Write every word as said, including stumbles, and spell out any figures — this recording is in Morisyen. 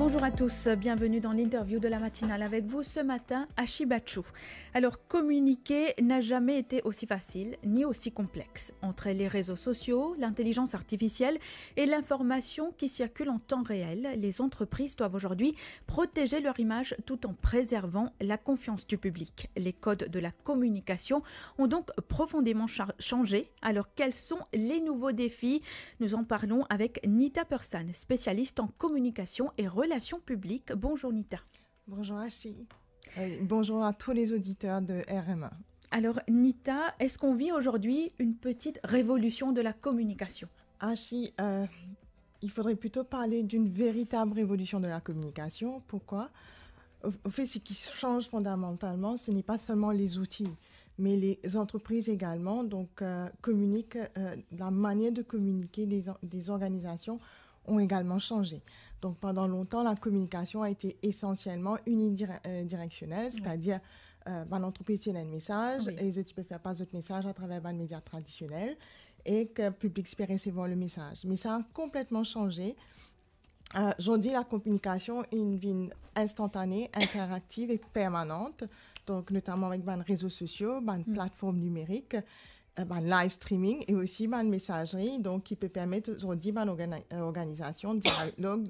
Bonjour à tous, bienvenue dans l'interview de la matinale. Avec vous ce matin, Ashi Bachou. Alors, communiquer n'a jamais été aussi facile ni aussi complexe. Entre les réseaux sociaux, l'intelligence artificielle et l'information qui circule en temps réel, les entreprises doivent aujourd'hui protéger leur image tout en préservant la confiance du public. Les codes de la communication ont donc profondément cha- changé. Alors, quels sont les nouveaux défis ? Nous en parlons avec Nita Persane, spécialiste en communication et relations publiques. Bonjour Nita. Bonjour Ashi. Euh, bonjour à tous les auditeurs de R M A. Alors Nita, est-ce qu'on vit aujourd'hui une petite révolution de la communication ? Ashi, euh, il faudrait plutôt parler d'une véritable révolution de la communication. Pourquoi ? Au, au fait, ce qui change fondamentalement, ce n'est pas seulement les outils, mais les entreprises également. Donc, euh, communiquent, euh, la manière de communiquer des, des organisations ont également changé. Donc, pendant longtemps, la communication a été essentiellement unidirectionnelle, c'est-à-dire euh, bann antrepriz ti ena enn mesaz, Oui. E zot ti pe fer pas zot mesaz atraver bann media tradisionel, e ki piblik ti pe resevwar le mesaz. Me sa a konpletman sanze. Euh, zordi, la kominikasion inn vinn instantane, interaktiv e permanant, donk notaman avek bann rezo sosio, bann Mm. platform nimerik, euh, bann live streaming e osi bann mesazri, donk ki pe permet zordi bann organi- euh, organizasion dialog